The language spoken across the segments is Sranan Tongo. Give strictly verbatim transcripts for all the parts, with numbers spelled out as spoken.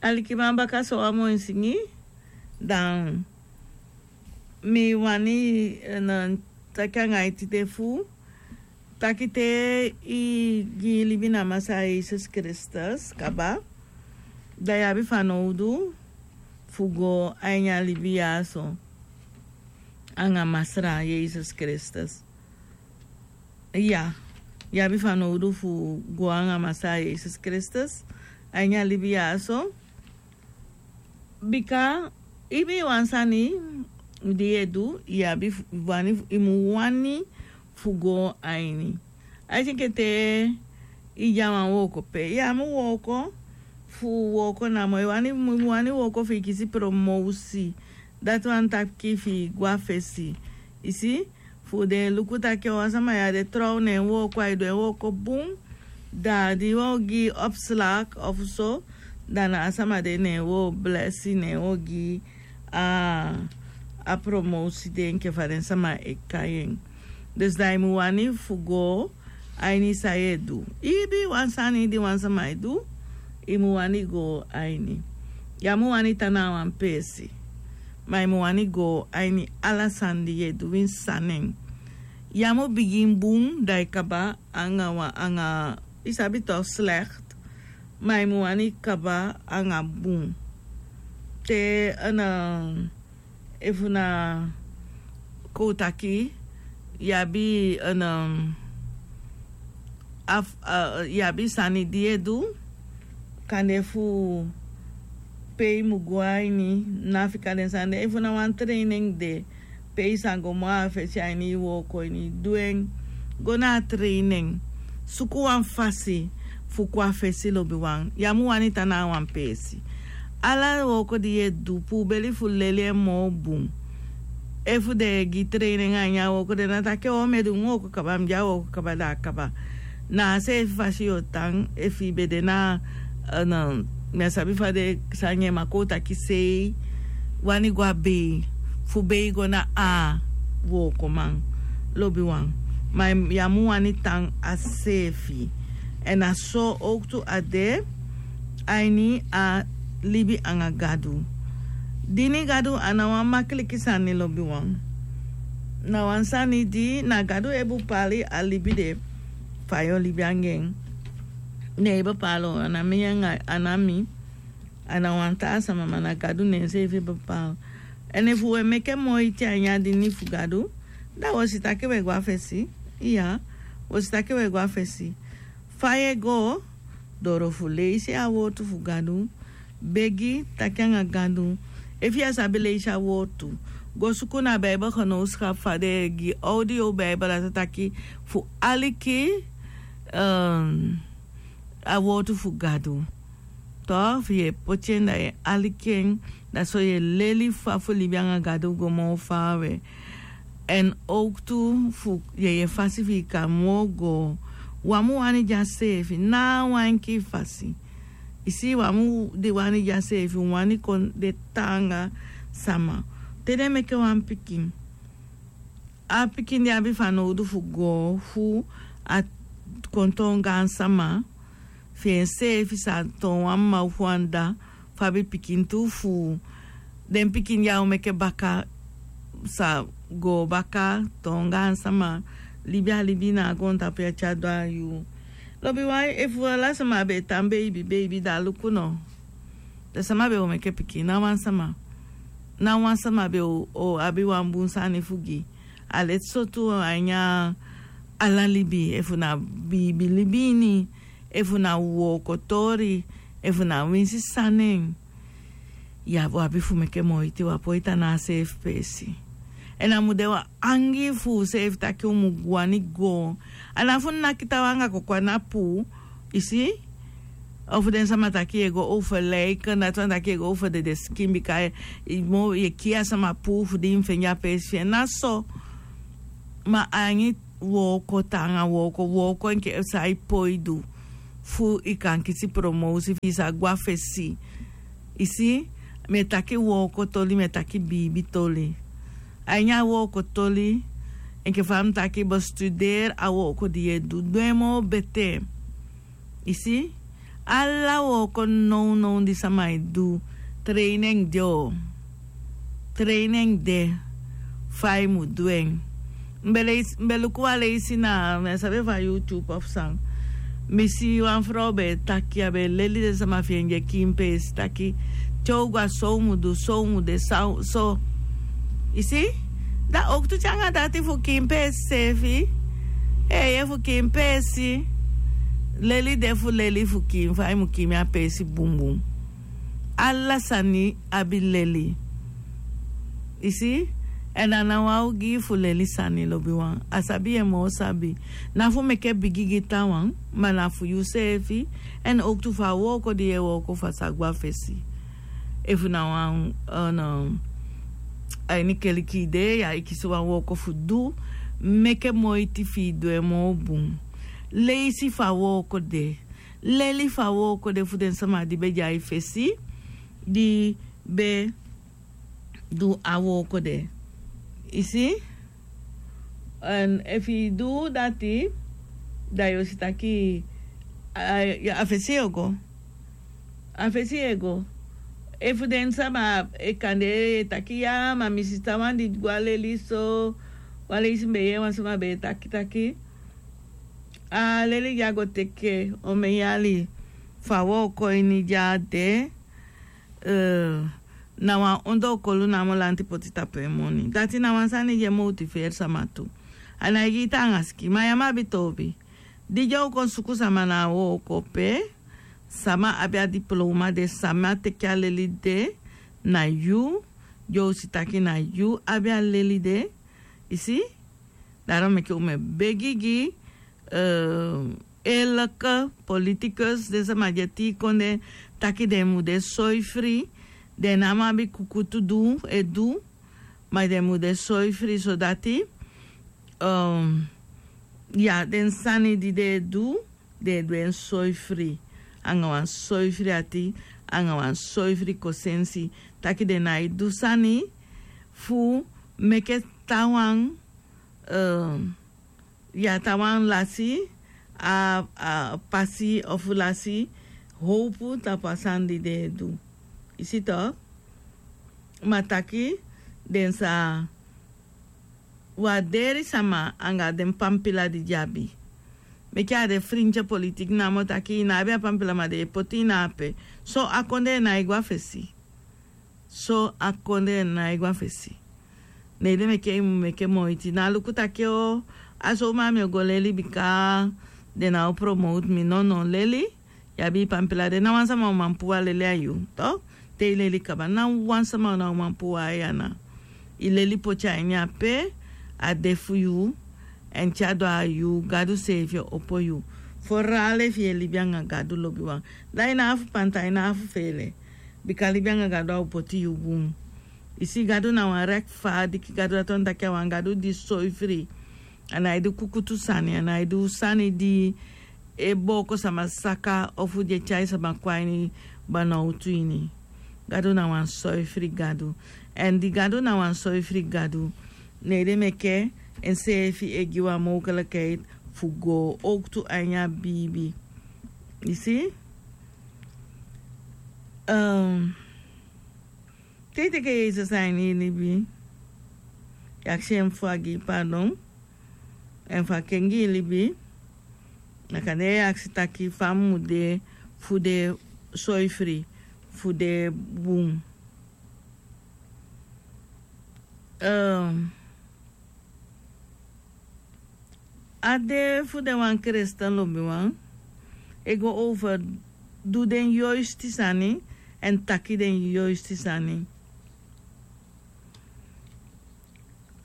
Alikiman, baka so wan moi singi. Dan mi wani taki anga yu tide fu taki te i gi i libi na Masra Yesus Kristus kaba, dan yu abi fanowdu fu go a ini a libi ya so anga Masra Yesus Kristus. Iya, yu abi fanowdu fu go anga Masra Yesus Kristus a ini a libi ya so. Bika ibi wan sani di yu e du, yu abi wani, yu mu wani fu go a ini. Ai si enke te yu de a wan wooko pe, yu á mu wooko fu wooko namo, yu wani, yu mu wani wooko fu yu kisi promosi. Dati wani taki fu yu go a fesi. I si, fu den luku taki wan sama ya de trouw na en wooko, ai du en wooko bun. Da di wan o gi opslag ofu so, da na a sama de na en o blesi, na en o gi a promosi de enke fa den sama e kai en. Dus da i mu wani fu go a ini san yu e du. Ibi wan sani di wan sama e du, i mu wani go a ini. Yu á mu wani tan na a wan peesi, ma i mu wani go a ini ala sani di yu e du, winsi san nen. Yu á mu bigin bun da i kaba anga wan, anga, i sabi toch, slecht, ma i mu wani kaba anga bun. Te en, efu na kon taki yu abi en, yu abi sani di yu e du, kande fu pe i mu go a ini, na fika den sani de. Efu na wan training de pe i sa go moo a fesi a ini i wooko ini, du en. Go na a training, suku wan fasi fu kon a fesi, lobiwan. Yu á mu wani tan na a wan peesi. Ala wooko di yu e du, pubeli fu leli en moo bun. Efu den e gi training a ini a wooko, den ná taki o mi e du mi wooko kaba, mi de a wooko kaba, da a kaba. Na a seefi fasi yu o tan. Efu i be de na, mi á sabi fa den sani e, ma kon taki sei wani go a bei, fu bei go na a wookoman, lobiwan. Ma yu á mu wani tan a seefi. Èn na so owktu a de a ini a libi anga Gadu. Dini Gadu a ná wan makiliki sani, lobiwan. Na wan sani di na Gadu e bepali a libi de, fa yu o libi anga en. Ne en bepali, a ná mi anga, a ná mi, a ná wan taa sama, ma na Gadu na enseefi e bepali. Èn efu u e meke moiti a ini a dini fu Gadu, da u o si taki u e go a fesi. Iya, u o si taki u e go a fesi. Fa yu e go? Doro fu leisi a wowtu fu Gadu. Begi, taki anga Gadu. Efu yu á sabi leisi a wowtu, go suku na Bijbelgenootschap, fa den e gi audio Bijbel, a sa taki fu aliki a wowtu fu Gadu. Toch, fu yu e poti en, da yu e aliki en, da so yu e leli fa fu libi anga Gadu go moo faawe. Èn owktu fu yeye fasi fi i kan moo go. U á mu wani de a seefi, ná wan enkii fasi. I si, u á mu wani de a seefi, u wani kon de taanga sama. Te den meke wan pikin, a pikin di abi fanowdu fu go fu a kon toon gaansama, fi enseefi sa toon wan mma ofu wan dda fu abi pikin tu, fu den pikin di a o meke baka sa go baka toon gaansama, libi a libi na a goontapu ya te a du a yuu. Lobiwan, efu ala sama be e tan beibi beibi, da luku no. Da sama be o meke pikin? Ná wan sama. Ná wan sama be o abi wan bun sani fu gi. A leti so tu a ini a ala libi, efu na biibi libi ini, efu na wooko toli, efu na winsi san nen, yu o abi fu meke moiti, u á poi tan na a seefi peesi. Èn a mu de wan angii fu useefi taki u mu wani go. A ná fu naki taawan anga koko a na puu, i si. Ofu den sama taki yu e go overlijken, dati wani taki yu e go over dede sikin, bika yu e kii a sama puu fu di i mu fende a peesi fi en. Ná so. Ma a ini wooko, taanga wooko, wooko enke san i poi du fu i kan kisi promosi fi i sa go a fesi. I si, mi e taki wooko toli, mi e taki biibi toli. A ini a wooko toli, enke fa mi taki, bestuderi a wooko di yu e du, du en moo betee. I si, Ala wooko nownow di sama e du, treini en de o. Treini en de fa yu mu du en. Mi be leisi mi be luku wan leisi na mi á sabi efu a youtube ofu san. Mi si wan frow be e taki a be e leli den sama fi en di e kiin peesi taki, te u go a so u mu du so u mu de san u so. I si? Da owktu te anga dati fu kiin peesi seefi. Eeye fu kiin peesi. Leli de fu leli fu kiin fa i mu kiin mi a peesi bunbun. Ala sani abi leli. I si? Èn a na wan ogii fu leli sani lobiwan a sabi yu e moo sabi. Na fu meke bigi gi taawan, ma na fu yu seefi. Èn owktu fu a wooko di yu e wooko fu a sa gwe a fesi. Efu na wan a ini keliki i de ya e kisi wan wooko fu du. Meke moiti fi i du en moo bun. Leisi fu a wooko de. Leli fu a wooko de fu den sama di be de a i fesi, di be du a wooko de. I si? Èn efu i du dati, da yu o si taki a fesi yu o go. A fesi yu e go. Efu den sama e kande e taki ya ma mi sisa wan di go a leli so. Wan leisi mi be yee wan sama be e taki taki a leli di a go teke omen yali fu a wooko ini di a de. Na wan ondoo kolu namo lanti poti tapu en moni dati na wan sani di e motiferi sama tu. A nái gi i taanga sikin ma yu á mu abi toobi. Di di o kon suku sama na a wooko pe sama abi a diploma de sama teke a leli de. Na yu di o si taki na yu abi a leli de. I si? Daro meke u mu e begi gi eleke politikus den sama di e tii kon den taki den mu de soi fri. Den no abi kukutu du e du. Ma den mu de soi fri sodati ya den sani di den e du den e du en soi fri. Anga wan soi fri ati anga wan soi fri kosensi taki den nái du sani fu meke taawan ya taawan lasi a pasi ofu lasi howpu tapu a sani di den e du. I si tok? Ma taki den sa warderi sama anga den pampila di den abi. Meke a de frinti politiki namo taki i no abi a pampila ma den e poti i na ape. So a kondee nái go a fesi. So a kondee nái go a fesi. Nei den meke i mu meke moiti na luku taki o a sow ma mi o go leli bika den na o promowtu mi nono leli. Yu abi i pampila de na wan sama o man puu a leli a yu. Te i leli kaba na wan sama o na o man puu a yu ana. I leli poti a ini ape a de fu yu. Èn te a du a yu gadu seefi o opo yu. Forale fi yu e libi anga gadu lobiwan. Da i na afu panta i na afu feele. Bika libi anga gadu a o poti yu bun. I si gadu na wan rekfadiki gadu dati wani taki a wan gadu di soi fri. A nái du kukutu sani a nái du sani di e booko sama saka ofu di e tyai sama kon a ini banowtu ini. Gadu na wan soi fri gadu. Èn di gadu na wan soi fri gadu ne ede meke enseefi e gi wan mowkelekeiti fu go owktu a ini a biibi. I si? Te i teke yesus a ini i libi, i aksi en fu a gi i padon èn fu a kengi i libi. Na kande i aksi taki fa mi mu de fu de soi fri fu de bun. A de fu den wan kristen lobiwan e go over du den yoisti sani èn taki den yoisti sani.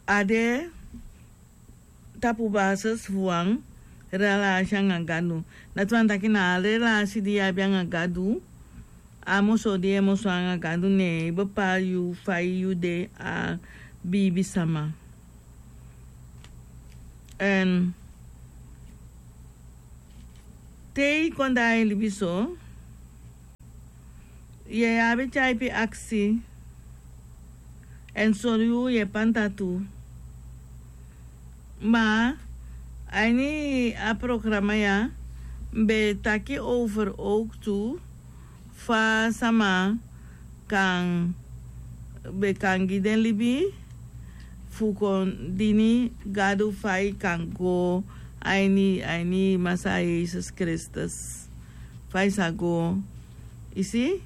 A de tapu basis fu wan relasi anga gadu. Dati wani taki na a relasi di yu abi anga gadu a moso di e moso anga gadu ne e bepali yu fa yu de a biibi sama. Èn te i kon de a i libi so yu e abi tyaipi aksi èn sori yu yu e panta tu. Ma a ini a programa ya Mi be taki over ook tu fa sama kan be kan gi den libi fu kon dini Gadu fa i kan go a ini a ini Masaa Yesus Kristus. Fa i sa go, i si.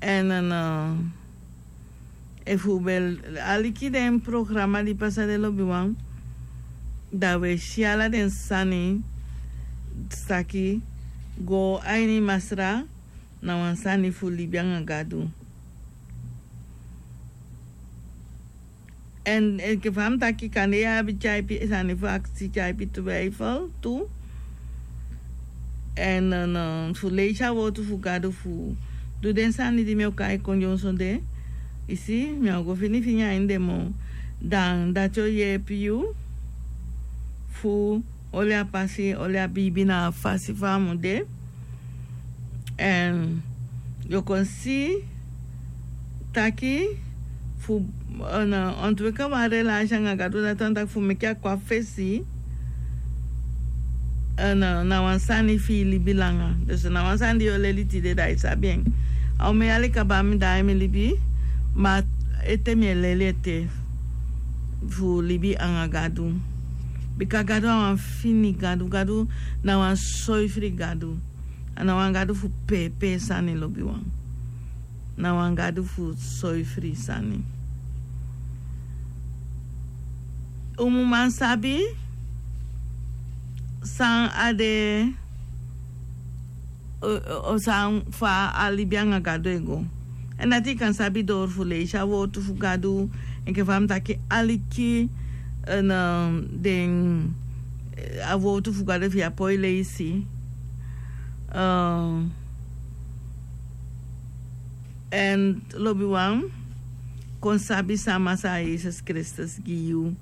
Èn efu u be aliki den programa di pasa den lobiwan, da u e si ala den sani. Saki go a ini Masra na wan sani fu libi anga Gadu. Èn enke fa mi taki kande yu abi tyaipi sani fu aksi, tyaipi twijfel tu. Èn fu leisi a wortu fu Gadu fu du den sani di mi o kai kon dyonson de. I si, mi o go fini fini a ini den moo. Dan dati o yeepi yu fu oli a pasi, oli a biibi na a fasi fa a mu de. Èn yu o kon si taki fu ontwikkel wan relasi anga Gadu, dati wani taki fu meke a kon a fesi. Na wan sani fi i libi langa. Dus na wan sani di yu o leli tide, da i sabi en. A omen yali kaba mi de a ini mi libi, ma ete mi e leli ete fu libi anga Gadu. Bika Gadu a wan fini Gadu. Gadu na wan soifri Gadu. A na wan Gadu fu peepee sani, lobiwan. Na wan Gadu fu soifri sani. Un mu man sabi san a de, o san fa a libi anga Gadu e go. Èn dati i kan sabi dori fu leisi a wortu fu Gadu, enke fa mi taki, aliki den a wortu fu Gadu fi a poi leisi. Èn lobiwan, kon sabi san Masaa Yesus Kristus gi yu.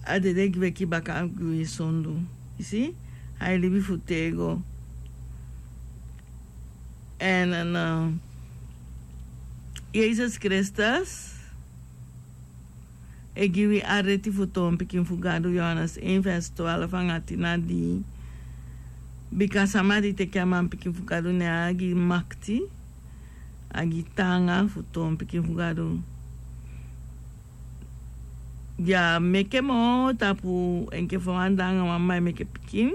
A dede weki baka gi wi sondu. I si, a e libi fu tego. Èn Yesus Kristus e gi wi a reti fu toon pikin fu Gadu, Yohanes één vers twaalf anga tin na dii. Bika sama di teki a manpikin fu Gadu, ne a gi makti, a gi taanga fu toon pikin fu Gadu. Di a meke moo tapu enke fa wan dda anga wan mma e meke pikin.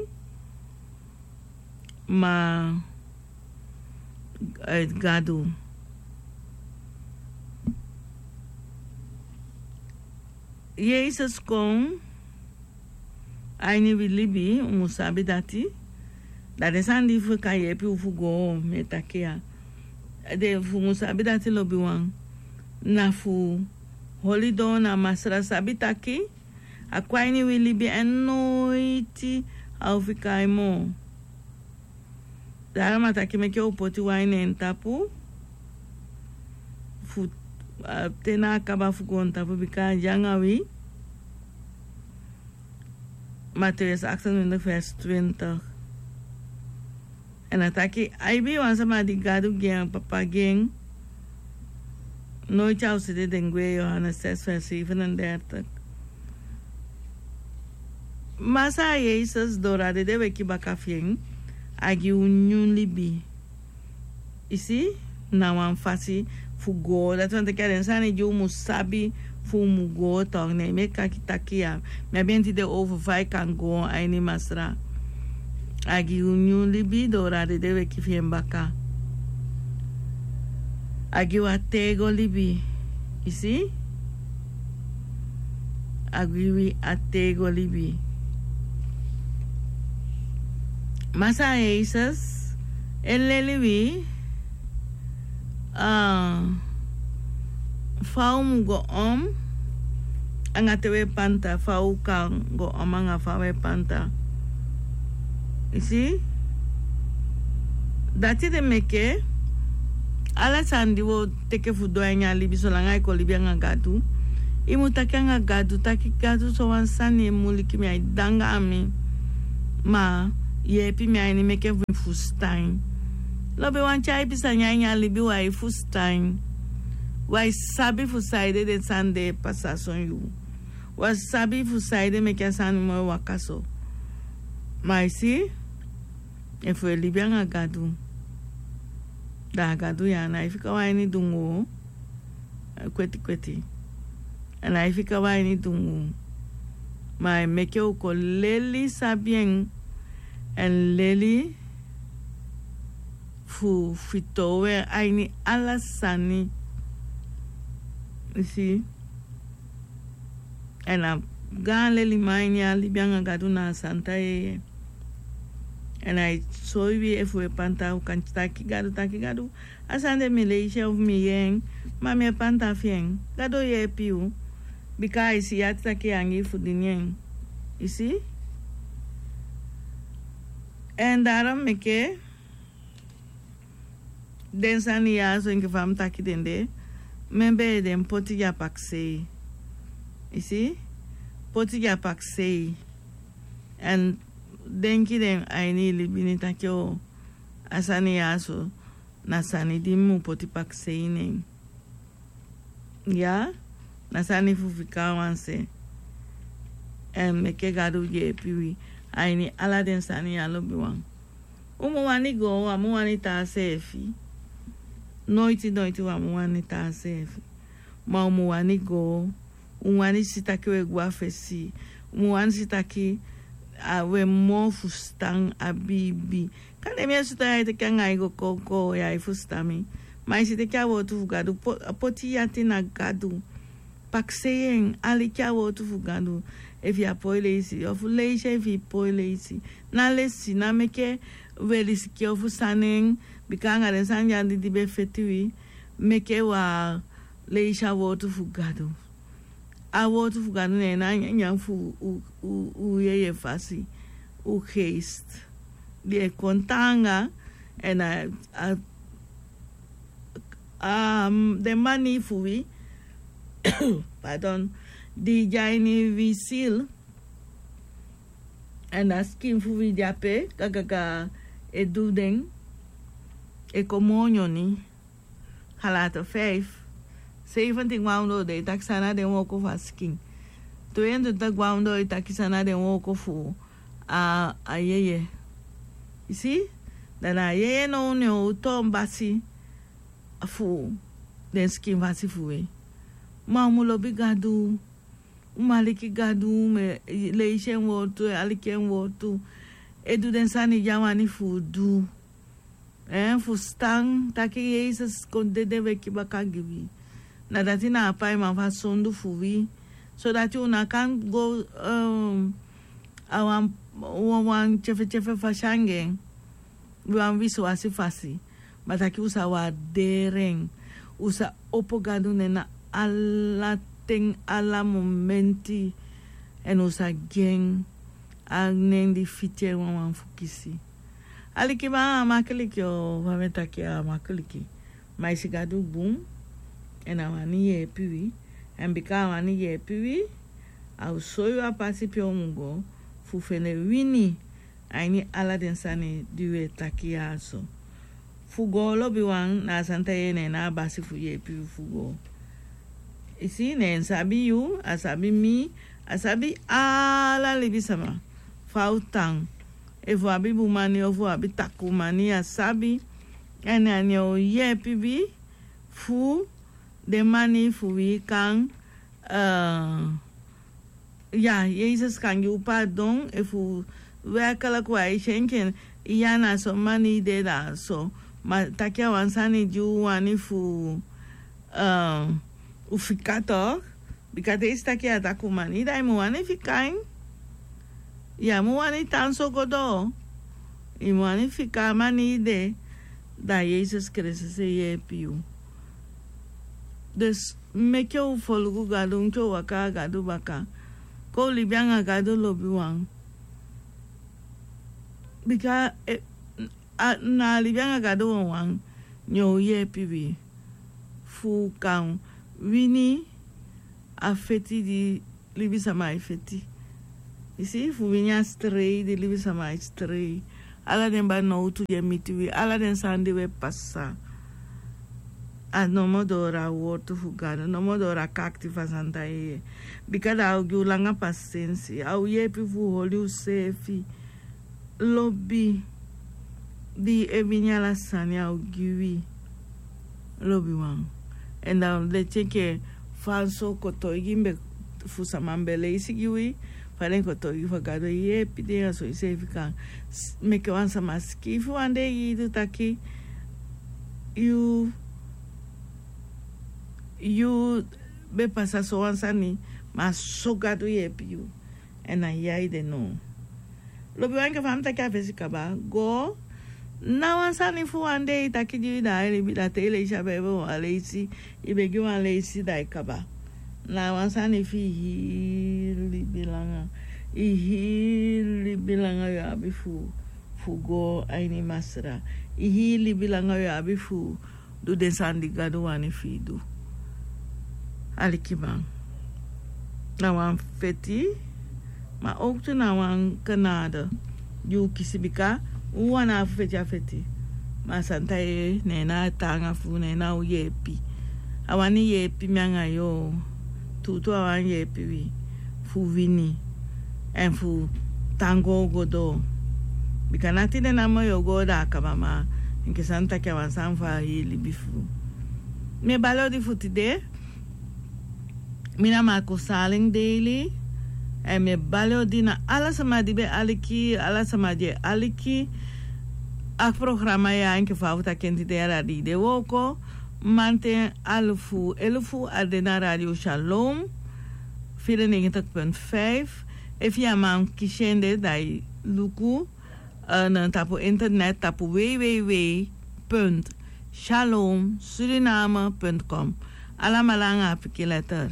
Ma Gadu. Yesus kon a ini wi libi, un mu sabi dati. Da den sani di fu kan yeepi un fu go, mi e taki ya. Den fu mu sabi dati, lobiwan. Na fu holi don na Masra, sabi taki a kon a ini wi libi èn noiti a o fika moo. Daarom a taki meke un poti wan ini en tapu fu te na a kaba fu goontapu, bika a de anga wi. Matthäus achtentwintig vers twintig. Èn a taki a ibi wan sama di Gadu gi en, Papa gi en. Noiti a o seti den gwe, Yohanes zes vers zevenendertig. Masaa Yesus, doro a dede weki baka fi en, a gi un nyun libi. I si, na wan fasi fu go. Dati wani taki a den sani di un mu sabi fu un mu go, tok, ne mi e kaki taki ya. Mi abi en tide over fa i kan go a ini Masra. A gi un nyun libi, doro a dede weki fi en baka. A gi wi a tego libi. I si? A gi wi a tego libi. Masaa Yesus e leli wi, ah, fa un mu go om anga te un e panta, fa un kan go om anga fa un e panta. I si? Dati de meke ala sani di un o teke fu du a ini a libi, solanga i kon libi anga Gadu, i mu taki anga Gadu taki, Gadu, sowan sani e muliki mi, ai danga a mi. Ma yeepi mi a ini, meke mi fustan. Lobi, wan tyaipi sani a ini a libi, wi ai fustan. Wi ai sabi fu saide den sani de e pasa son yuu. Wi á sabi fu saide meke a sani moo e waka so. Ma i si, efu e libi anga Gadu, da a Gadu ya a nái fika wan ini dungu. Kweti kweti. A nái fika wan ini dungu. Ma a e meke u kon leli sabi en, èn leli fu fitoow en a ini ala sani. I si. Èn a gaan leliman a ini a libi anga Gadu na a santa yeye. Èn a e soi wi efu u e panta u kan taki Gadu, taki Gadu, a sani de mi leisi en ofu mi yee en, ma mi e panta fi en. Gadu o yeepi yu. Bika a e si yu ati taki yu angii fu dini en. I si. Èn daarom meke den sani ya so enke fa mi taki den de, membee den poti gi a pakisei. I si. Poti gi a pakisei. Èn denki den a ini i libi ini taki o, a sani ya so na sani di mi mu poti pakisei ini en. Ya, na sani fu fika a wan se. Èn meke Gadu yeepi wi a ini ala den sani ya lobiwan. U mu wani go, u á mu wani tan seefi. Noiti noiti u á mu wani tan seefi. Ma u mu wani go. U mu wani si taki u e gwe a fesi. U mu wani si taki a u e moo fustan a biibi. Kande mi e sutu ya e teke anga i go koko ya e fustan mi. Ma i si teke a wowtu fu Gadu, poti yu ati na Gadu. Pakisei en, aliki a wowtu fu Gadu. Efu yu á poi leisi, ofu leisi efu i poi leisi. Na lesi, na meke u e lisiki ofu sani en, bika anga den sani ya di di be feti wi, meke u á leisi a wowtu fu Gadu. A wowtu fu Gadu ne en na nyanyan fu u, u, u yeye fasi, u geest. Di e kon taanga, èn a, a, a, den manii fu wi, pardon, di de a ini wi sil, èn a sikin fu wi de ape, kakaka e du den, e kon moo nyoni. Galaten vijf, zeventien, gwe na ondoo, den e taki san na den wooko fu a sikin. Tweeëntwintig, gwe na ondoo, e taki san na den wooko fu a, a yeye. I si, da na a yeye now ne o toon basi fu den sikin fasi fu wi. Ma u mu lobi Gadu, u mu aliki Gadu, u mu e leisi en wowtu, e aliki en wowtu, e du den sani di a wani fu u du. Èn fustan taki Yesus kon dede weki baka gi wi. Na dati na a paiman fu a sondu fu wi. Sodati u ná kan go, eh, a wan, wan, wan tyefetyefesi fasi anga en. Wan wisiwasi fasi. Ma taki u sa waardeer en. U sa opo Gadu nen na ala ten, ala momenti. Èn u sa gi en a nen di fiti en wawan fu kisi. Alikiman, a makiliki o, fa mi e taki, a makiliki. Ma i si Gadu bun, èn a wani yeepi wi. Èn bika a wani yeepi wi, a o soi wi a pasi pe u mu go, fu fende wini a ini ala den sani di wi e taki ya so. Fu go lobiwan, na a santa yeye ne en na a basi fu yeepi wi fu go. I si, ne en sabi yu, a sabi mi, a sabi ala libisama. Fa u tan. Efu u abi bun mani, ofu u abi takuu mani, a sabi. Èn a ne o yeepi wi fu den mani fu wi kan, eh, ya, Yesus kan gi u pardon, efu werkelijk u e si enke ya na so mani de da so. Ma taki a wan sani di u wani fu, eh, u fika toch. Bika te i si taki a takuu mani, da i mu wani fika en. Ya mu wani tan so go doo. I mu wani fika a mani de, da Yesus Kristus e yeepi yu. Dus meke u folugu Gadu, meke u waka a Gadu baka. Kon u libi anga Gadu lobiwan. Bika, eh, a, na libi anga Gadu wawan, ne o yeepi wi fu kan wini a feti di libisama e feti. I si, fu wini a strei di libisama e strei. Ala den banowtu di e miti wi, ala den sani di wi e pasa. A nomo doo a wortu fu Gadu, nomo doo a kakti fu a santa yeye. Bika da a o gi u langa pasensi, a o yeepi fu holi useefi. lobi di e wini ala sani a o gi wi. Lobi wan. Èn dan leti enke fa so kotoigi mi be fu sama mi be leisi gi wi, fa den kotoigi fa gado e yepi den a so yu seefi kan meke wan sama sikiifi wan dei gi yu taki yu yu be pasa so wan sani, ma so gado yepi yu. Èn a yai de no. Lobi wan enke fa mi taki a fesi kaba go na wan sani fu wan dei taki di yu da a e libi da te i leisi a bebe wan leisi, i be gi wan leisi da i kaba. Na wan sani fi i hii libi langa, i hii libi langa yu abi fu fu go a ini masra, i hii libi langa yu abi fu du den sani di gado wani fu i du. Alikiman, na wan feti, ma owktu na wan kanada di u kisi bika u wani a fu feti a feti. Ma santa ye ne na a taanga fu ne na u yeepi. A wani yeepi mi anga yu. Tuutuu a wani yeepi wi fu wini èn fu tan go go doo. Bika na tide namo yu o go doo a kaba ma enke sani taki a wan sani fu a hii libi fu. Mi e bali odi fu tide. Mi na marco saling daily. Èn mi e bali odi na ala sama di be aliki ala sama di e aliki a programa ya enke fa a fu taki en tide yara di de wooko. Manten alufu elufu a de na radio shalom. Firi negentig punt vijf. Efu yu a man kisi en de da i luku na tapu internet tapu www punt shalom suriname punt com. Alamala anga a pikin letter.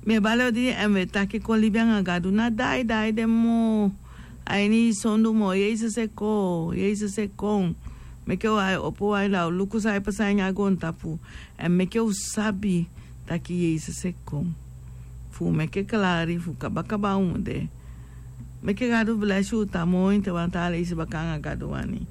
Mi e bali odi èn mi e taki kon libi anga gadu na daidai de moo. A ini i sondu moo yesus e kon yesus e kon. Meke u ai opo wai da u luku san e pasa ini a goontapu. Èn meke u sabi taki yesus e kon fu u meke klari fu kabakaba u mu de. Meke gadu blesi u tan moi te wan taa leisi baka anga gadu wani.